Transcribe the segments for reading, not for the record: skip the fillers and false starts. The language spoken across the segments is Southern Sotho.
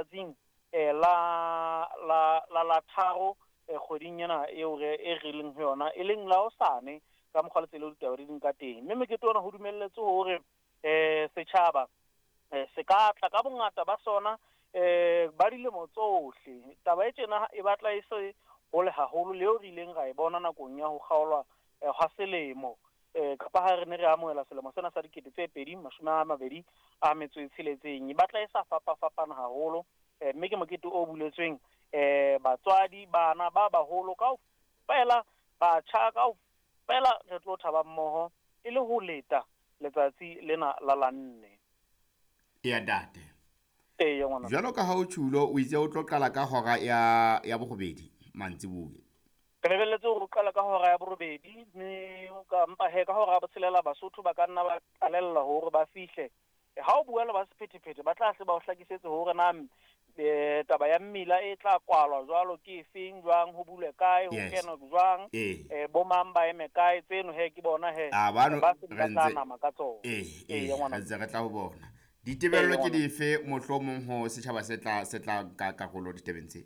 letsatsing la la la la tharo kgweding ena eo re e re leng ho yona, e leng la hosane ka mokgwa le tsela eo ditaba di leng ka teng. Mme mokete ona ho dumelletswe hore setjhaba se ka tla ka bongata ba sona, ba dilemo tsohle. Taba e tjena e batla e se hole haholo le eo re ileng ra e bona nakong ya ho kgaolwa hwa selemo, kapa ha re ne re amohela selemo sena sa 2026. E batla e sa fapafapana haholo, mme ke mokete o buletsweng batswadi, bana ba baholo kaofela, batjha kaofela, re tlo thaba mmoho e le ho leta letsatsi lena la la 4. Eya ntate. Eya ngwana. Jwalo ka ha o tjhulo, o itse o tlo qala ka hora ya 8 mantsiboya. Re lebelletse hore o qala ka hora ya 8, mme ka mpa he ka hora ya 6 Basotho ba ka nna ba qalella hore ba fihle. Ha o bua le ba sephethephethe, ba tla hle ba o hlakisetse hore na taba ya mmila e tla kwalwa jwalo ke efeng, jwang, ho bulwe kae, ho kenwe jwang, bo mang ba eme kae, tseno he ke bona he ba se ba tla nama ka tsona. Ee, re ntse re tla ho bona. Ditebello ke dife mohlomong ho setjhaba se tla nka karolo ditabeng tse?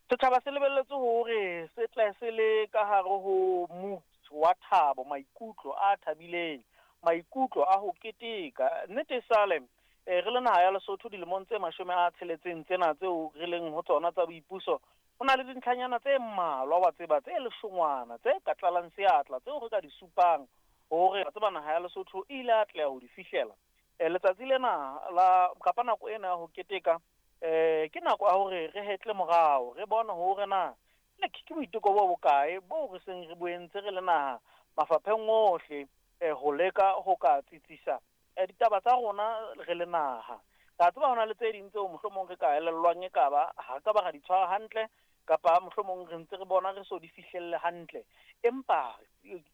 Setjhaba se lebelletse hore se tle se le ka hare ho mood wa thabo, maikutlo a thabileng, maikutlo a ho keteka. Nnete sale re le naha ya Lesotho dilemong tse 60 tsena tseo re leng ho tsona tsa boipuso, ho na le dintlhanyana tse mmalwa wa tseba tse leshongwana tse ka tlalang seatla tseo re ka di supang hore wa tseba naha ya Lesotho e ile atleha ho di fihlela. Letsatsi lena la kapa nako ena ya ho keteka, ke nako ya hore re hetle morao, re bone hore na ke boiteko bo bokae bo re seng re bo entse re le naha mafapheng ohle, ho leka ho ka tsitsisa ditaba tsa rona re le naha. Ka tseba hona le tse ding tseo mohlomong re ka elellwang e ka ba ha ka ba ra di tshwara hantle, kapa mohlomong re ntse re bona re so di fihlelle hantle. Empa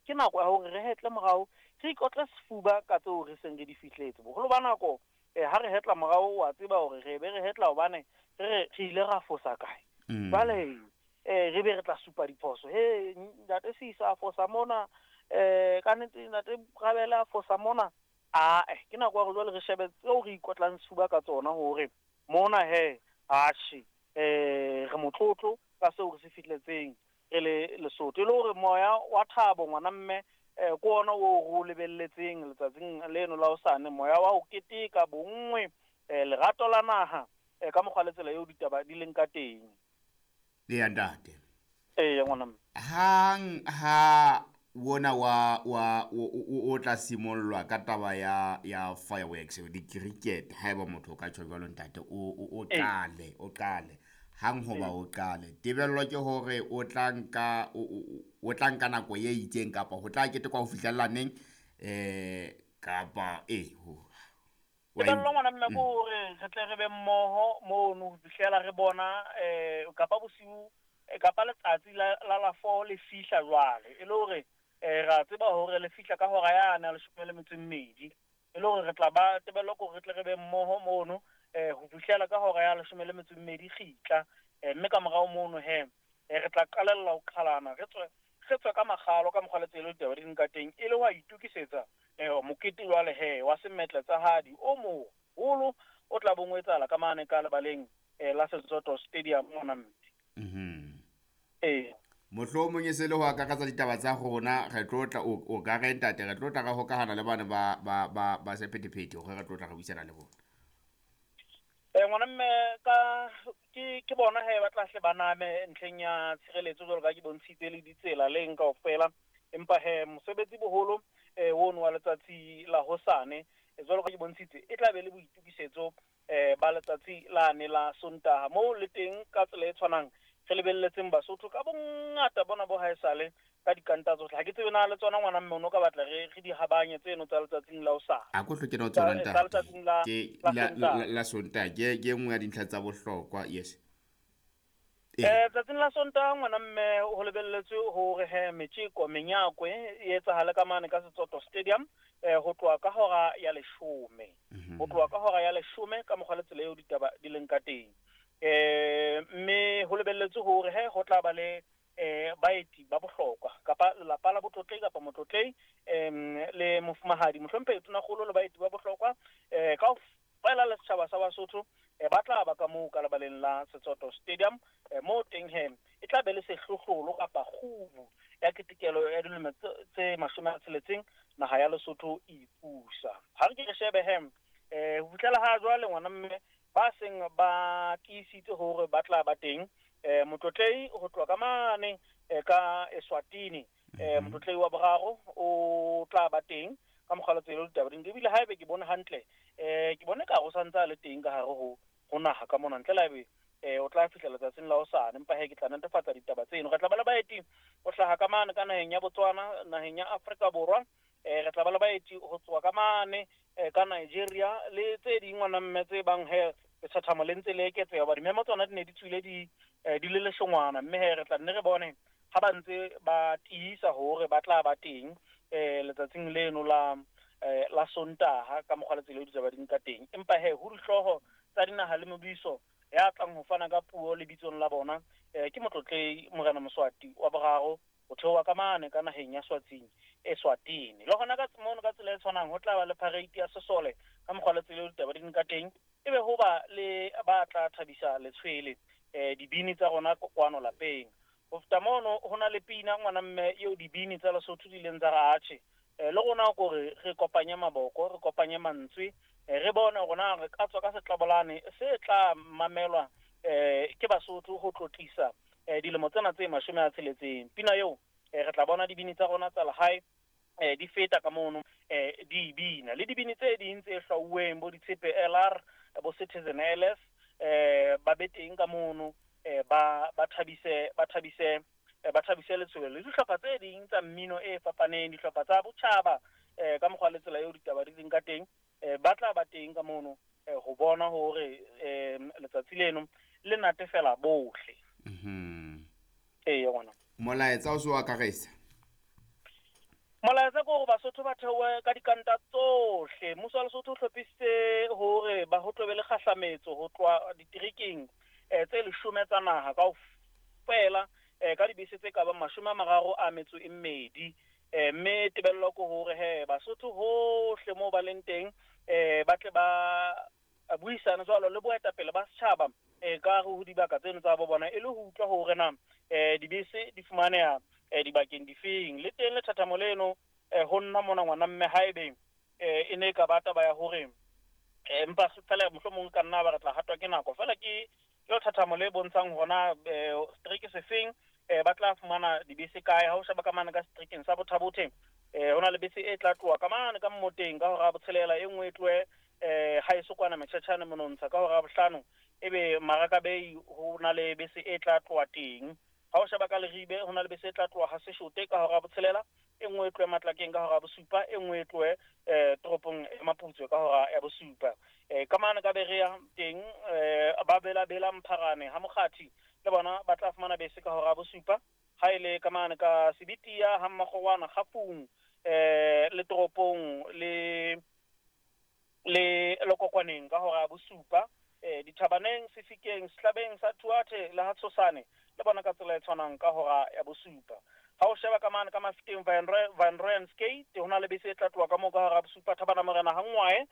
ke nako ya hore re hetle morao, re ikotle sefuba ka tseo re seng re di fihletse. Boholo ba nako ha re hetla morao, wa tseba hore re be re hetla hobane re ile ra fosa kae. Jwale re be re tla supa diphoso. He ntate Sisa a fosa mona, ka nnete ntate Rabele a fosa mona. Ke nako ya hore jwale re shebe tseo re ikotlang sefuba ka tsona hore mona he atjhe, re motlotlo ka seo re se fihletseng re le Lesotho. E le hore moya wa thabo ngwana mme, ke ona o re o lebelletseng letsatsing leno la hosane, moya wa ho keteka bonngwe, lerato la naha, ka mokgwa le tsela eo ditaba di leng ka teng. Eya ntate. Eya ngwana mme. Hang ha wona wa o tla simollwa ka taba ya fireworks, di-cricket, haeba motho o ka tjho jwalo ntate, o qale, o qale. Hang hoba o qale, tebello ke hore o tla nka, o tla nka nako e itseng kapa ho tla ketekwa ho fihlella neng, kapa ho Tebello ngwana mme ke hore re tle re be mmoho mono ho fihlela re bona, kapa bosiu, kapa letsatsi la la 4 le fihla jwale. E le hore ra tseba hore le fihla ka hora yane ya 12. E le hore re tla ba tebello ke hore re tle re be mmoho mono, ho fihlela ka hora ya 12 kgitla. Mme ka morao mono he, re tla qalella ho qhalana, re tswe ka makgalo ka mokgwa le tsela eo ditaba di leng ka teng, e le ho itokisetsa mokete jwale he wa semetle tsa hadi o moholo o tla bong o etsahala ka mane ka lebaleng la Setsoto Stadium mona mme. Ee. Mohlomong e se le ho akaretsa ditaba tsa rona, re tlo tla o ka re ntate, re tlo tla re hokahana le bana ba sephethephethe hore re tlo tla re buisana le bona. Ngwana mme, ka ke bona he ba tla hle ba name ntlheng ya tshireletso jwalo ka ke bontshitse le ditsela le eng kaofela. Empa he mosebetsi boholo ono wa letsatsi la hosane, jwalo ka ke bontshitse, e tla be le boitokisetso ba letsatsi lane la Sontaha, moo le teng ka tsela e tshwanang re lebelletseng Basotho ka bongata bona bo haesale ka dikanta tsohle. Ha ke tsebe na le tsona ngwana mme o no ka batla re di habanye tseno tsa letsatsing la hosane. A ko hloke na o tsona ntate. Tsa letsatsing la Sontaha. La Sontaha, ke nngwe ya dintlha tsa bohlokwa, yes. Tsatsing la Sontaha ngwana mme ho lebelletswe hore he metjeko menyakwe e etsahale ka mane ka Setsoto Stadium, ho tloha ka hora ya 10. Ho tloha ka hora ya 10 ka mokgwa le tsela eo ditaba di leng ka teng. Mme ho lebelletswe hore he ho tla ba le baeti ba bohlokwa kapa lelapa la botlotlei kapa motlotlei, le mofumahadi mohlomphehi Tonakgolo le baeti ba bohlokwa, Kaofela le setjhaba sa Basotho ba tla ba ka moo ka lebaleng la Setsoto Stadium, moo teng he e tla be le sehlohlolo kapa kgubu ya ketekelo ya dilemo tse 60 naha ya Lesotho e ipusa. Ha re ke re shebe he ho fihlela ha jwale ngwana mme ba seng ba tiisitse hore ba tla ba teng, motlotlei ho tloha ka mane ka Eswatini, motlotlei wa boraro o tla ba teng ka mokgwa le tsela ditaba di. Ebile haebe ke bone hantle, ke bone ka ho santse a le teng ka hare ho naha ka mona, ntle le haebe o tla fihla letsatsing la hosane, empa he ke tla netefatsa ditaba tseno. Re tla ba le baeti ho hlaha ka mane ka naheng ya Botswana, naheng ya Afrika Borwa, re tla ba le baeti ho tswa ka mane ka Nigeria le tse ding ngwana mme tse bang he lethathamo le ntse le eketseha, hoba dimemo tsona di ne di tswile di le leshongwana, mme he re tla nne re bone ha ba ntse ba tiisa hore ba tla ba teng letsatsing leno la Sontaha ka mokgwa le tsela eo ditaba di nka teng. Empa he ho dihlooho tsa dinaha le mebuso ya tlang ho fana ka puo lebitsong la bona, ke motlotlei Morena Moswati wa boraro ho theoha ka mane ka naheng ya Swatsing Eswatini. Le hona ka mono ka tsela e tshwanang ho tla ba le parade ya sesole ka mokgwa le tsela eo ditaba di nka teng, ebe ho ba le ba tla thabisa letshwele dibini tsa rona kwano lapeng. Ho feta mono ho na le pina ngwana mme eo dibini tsa Lesotho di ileng tsa re atjhe, le rona kore re kopanye maboko, re kopanye mantswe, re bone rona re ka tswa ka setlabolane se tla mamelwa ke Basotho ho tlotlisa dilemo tsena tse 60. Pina eo re tla bona dibini tsa rona tsa lehae di feta ka mono, di bina le dibini tse ding tse hlwauweng bo ditshepe LR, bo Citizen LS, ba be teng ka mono, ba thabise letshwele le dihlopha tse ding tsa mmino e fapaneng, dihlopha tsa botjhaba ka mokgwa le tsela eo ditaba di leng ka teng, ba tla ba teng ka mono ho bona hore letsatsi leno le natefela bohle. Ee ngwana. Molaetsa o so akaresa. Molaetsa ke hore Basotho ba theohe ka dikanta tsohle. Mmuso wa Lesotho o hlophisitse hore ba ho tlobe le kgahlametso ho tloha diterekeng tse 10 tsa naha kaofela, ka dibese tse ka bang 32, mme tebello ke hore he Basotho hohle moo ba leng teng ba tle ba buisane jwalo le boetapele ba setjhaba ka ho dibaka tseno tsa bo bona, e le ho utlwa hore na dibese di fumaneha dibakeng difeng. Le teng lethathamo leno ho nna mona ngwana mme haebe e ne ka ba taba ya hore empa fela mohlomong ka nna ba re tla hatwa ke nako, fela ke lethathamo le bontshang hona strike sefeng ba tla fumana dibese kae. Ha o sheba ka mane ka streakeng sa Bothabothe, ho na le bese e tla tloha ka mane ka mmoteng ka hora ya 6, e nngwe e tlohe ha e sokwana Metjhetjhane monontsha ka hora ya 5, ebe Maraka Bay ho na le bese e tla tloha teng. Ha o sheba ka Leribe ho na le bese e tla tloha ha Seshote ka hora ya 6, e nngwe e tlohe Matlakeng ka hora ya 7, e nngwe e tlohe toropong ya Maputswe ka hora ya 7. Ka mane ka Berea teng ba bela Mpharane ha Mokgathi le bona ba tla fumana bese ka hora ya 7. Ha ile ka mane ka Sebitia ha Mmakgowana Kgafung le toropong le Lokokwaneng ka hora ya 7, Dithabaneng, Sefikeng, Sehlabeng sa Thuathe le ha Tshosane le bona ka tsela e tshwanang ka hora ya 7. Ha o sheba ka mane ka Mafeteng Van Rooyen Skate ho na le bese e tla tloha ka moo ka hora ya 7. Thabana Morena ha Ngwae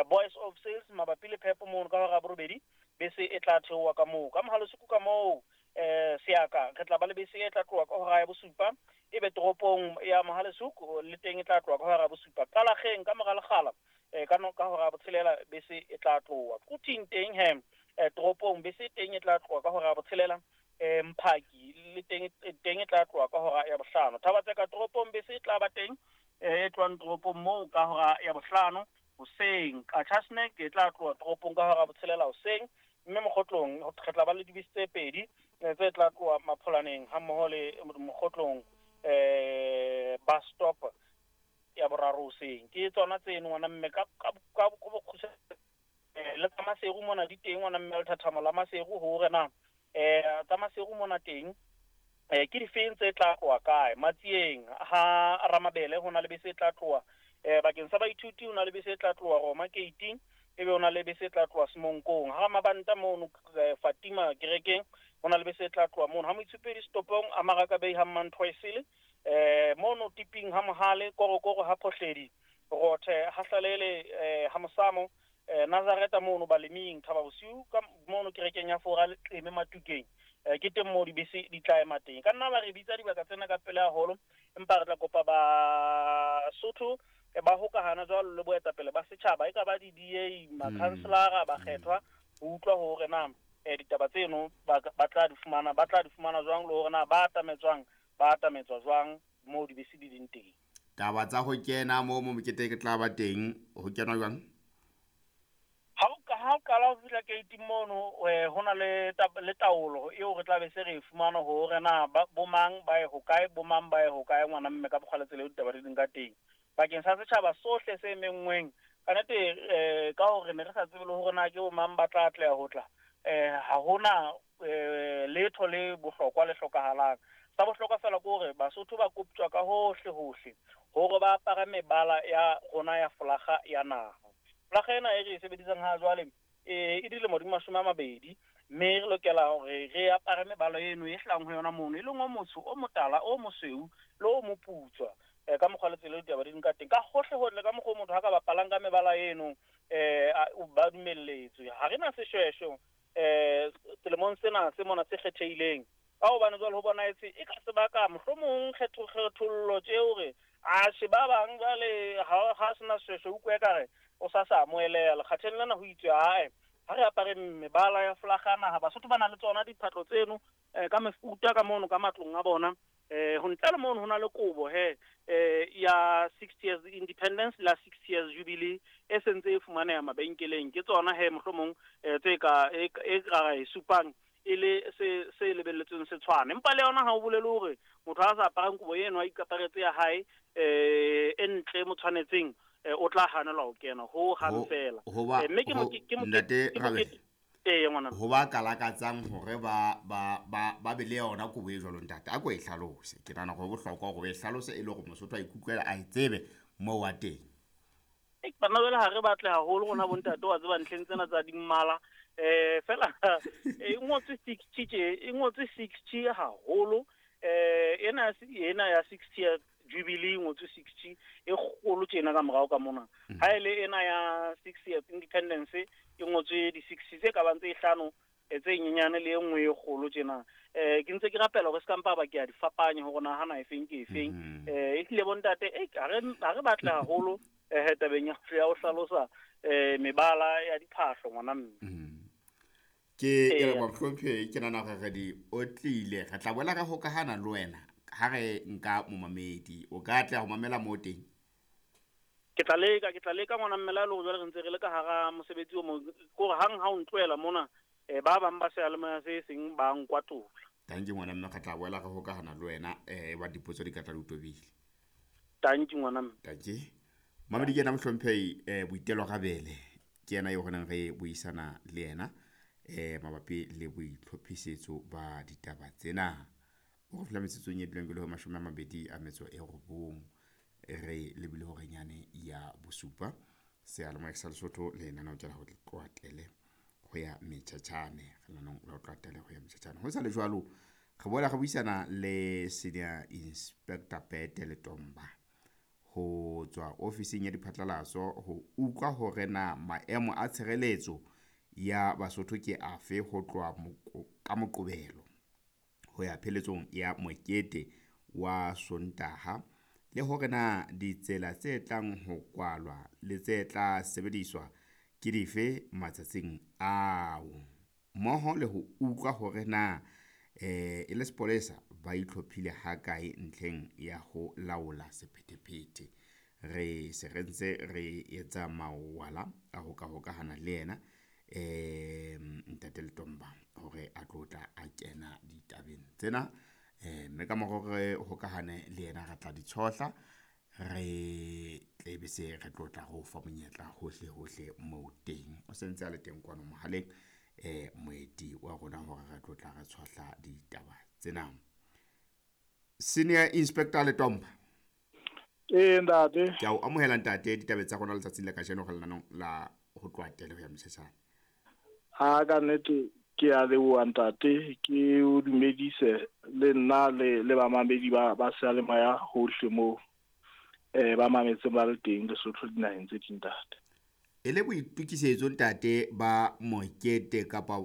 Boys of Sales mabapi le phepo mono ka hora ya 8, bese e tla theoha ka moo. Ka Mohalesuku ka moo Seaka re tla ba le bese e tla tloha ka hora ya 7, ebe toropong ya Mohalesuku le teng e tla tloha ka hora ya 7. Qalageng ka mora lekgala ka hora ya 6 bese e tla tloha. Quthing teng he toropong bese teng e tla tloha ka hora ya 6, Mphaki le teng e tla tloha ka hora ya 5. Thabatseka toropong bese e tla ba teng e tlohang toropong moo ka hora ya 5 hoseng. Qachatsnek e tla tloha toropong ka hora ya 6 hoseng, mme Mokgotlong re tla ba le dibese tse 2 tse tla tloha Mapholaneng ha mmoho le Mokgotlong bus stop ya 3 hoseng. Ke tsona tseno ngwana mme ka bokgutshwane le tsa Maseru mona di teng ngwana mme lethathamo la Maseru hore na tsa Maseru mona teng ke difeng tse tla tloha kae. Matsieng ha Ramabele ho na le bese e tla tloha, bakeng sa baithuti ho na le bese e tla tloha Roma Gate, ebe ho na le bese e tla tloha Semonkong. Ha Mabanta mono Fatima kerekeng ho na le bese e tla tloha mono. Ha Moitshupedi stopong a Maraka Bay ha Manthoisele, mono Tiping ha Mohale, Korokoro ha Phohledi, Rothe ha Hlalele ha Mosamo, Nazareta mono baleming Thaba Bosiu ka mono kerekeng ya Fora Leqeme Matukeng. Ke teng moo dibese di tla ema teng. Ka nna ba re bitsa dibaka tsena ka pele haholo, empa re tla kopa Basotho ba hokahana jwalo le boetapele ba setjhaba, e ka ba di-DA, makhanselara, bakgethwa, ho utlwa hore na ditaba tseno ba tla di fumana, ba tla di fumana jwang, le hore na ba atametswang, ba atametswa jwang moo dibese di leng teng. Taba tsa ho kena moo mo mokete ke tla ba teng, ho kenwa jwang? Ha o qala ho fihla gate mono, ho na le taolo eo re tla be se re e fumana hore na bomang ba ye hokae, bomang ba ye hokae, ngwana mme ka bokgwa le tsela eo ditaba di leng ka teng. Bakeng sa setjhaba sohle se menngweng, ka nnete ka hore ne re sa tsebe le hore na ke bomang ba tla atleha ho tla, ha hona letho le bohlokwa le hlokahalang. Sa bohlokwa fela ke hore Basotho ba koptjwa ka hohle hohle hore ba apare mebala ya rona ya folaga ya naha. Folaga ena e re e sebedisang ha jwale e dilemo di 20, mme re lokela hore re apare mebala eno e hlahang ho yona mono, e leng o motsho, o motala, o mosweu le o moputswa. Ka mokgwa le tsela eo ditaba di leng ka teng, ka hohle hohle ka mokgwa o motho ha ka bapalang ka mebala eno, ba dumelletswe. Ha re na seshweshwe selemong sena se mona se kgethehileng, ka hobane jwale ho bonahetse e ka sebaka mohlomong kgethollo tje hore atjhe ba bang jwale ha sena seshweshwe o utlwe ekare o sa sa amoheleha. Lekgatheng lena ho itswe ae ha re apare mebala ya folaga naha. Basotho ba na le tsona diphatlo tseno ka mefuta ka mono ka matlong a bona. Ho ntle le mono ho na le kobo he ya 60 years independence la 60 years jubilee e sentse e fumaneha mabenkeleng. Ke tsona he mohlomong tse ka e ka e supang e le se lebelletsweng se tshwane. Empa le yona ha o bolele hore motho ha sa aparang kobo eno a ikaparetse ya hae e ntle mo tshwanetseng, o tla hanelwa ho kena ho hang fela. Mme ke Ntate Rabele, ngwana, ho ba kalakatsang hore ba be le yona kobo e jwalo, ntate a ko e hlalose. Ke nahana hore bohlokwa hore o e hlalose e le hore Mosotho a ikutlwela a e tsebe moo wa teng. Bana jwale ha re batle haholo rona bontate wa tseba ntlheng tsena tsa dimmala. Fela e ngotswe 60 tje, e ngotswe 60 haholo. Ena ya 60 ya jubilee e ngotswe 60 e kgolo tjena ka morao ka mona. Ha ele ena ya 60 years independence e ngotswe di 60 tse ka bang tse hlano tse nyenyane le e nngwe e kgolo tjena. Ke ntse ke rapela hore se ka mpa ba ke a di fapanya hore na hana efeng ke efeng. E tlile bontate ha re batle haholo tabeng ya ho hlalosa mebala ya diphahlo ngwana mme. Ke re mohlomphehi, ke nahana hore re di otlile. Re tla boela re hokahana le wena ha re nka momamedi. O ka atleha ho mamela moo teng? Ke tla leka ngwana mme, le hore jwale re ntse re le ka hara mosebetsi o mong, ke hore hang ha o ntlohela mona ba bang ba seyalemoya se seng ba nkwatola. Tanki ngwana mme, re tla boela re hokahana le wena ba dipotso di ka tla di tobile. Tanki ngwana mme. Tanki. Mamedi ke yena mohlomphehi Boitelo Rabele, ke yena eo re neng re buisana le yena mabapi le boitlhophisetso ba ditaba tsena. O re fihla metsotsong e dulang ke le ho 29 re lebile horenyane ya bosupa. Seyalemoya sa Lesotho le lenaneo ke la ho tloatele ho ya metjhatjhane, lenaneo la ho tloatele ho ya metjhatjhane. Ho sa le jwalo, re boela re buisana le Senior Inspector Pete Letomba ho tswa ofising ya diphatlalatso ho utlwa hore na maemo a tshireletso ya Basotho ke afe ho tloha ka Moqebelo ho ya pheletsong ya mokete wa Sontaha, le hore na ditsela tse tlang ho kwalwa le tse tla sebediswa ke dife matsatsing ao, mmoho le ho utlwa hore na e le sepolesa ba itlhophile hakae ntlheng ya ho laola sephethephethe. Re se re ntse re etsa mawala a ho ka hokahana le yena Ntate Letomba hore a tlo tla a kena ditabeng tsena. Mme ka mora hore hokahane le yena re tla di tshohla, re tlebe se re tlo tla re o fa monyetla hohle hohle moo teng. O sentse a le teng kwano mohaleng moeti wa rona hore re tlo tla re tshohla ditaba tsena. Senior Inspector Letomba. Ntate. Ke a o amohela ntate ditabeng tsa rona letsatsing la kajeno re lenanong la ho tloha tele ho ya motjhetjhane. Ha ka nnete ke a leboha ntate, ke o dumedise le nna le bamamedi ba seyalemoya hohle moo ba mametseng ba le teng Lesotho dinaheng tse ding ntate. E le boitokisetso, ntate, ba mokete kapa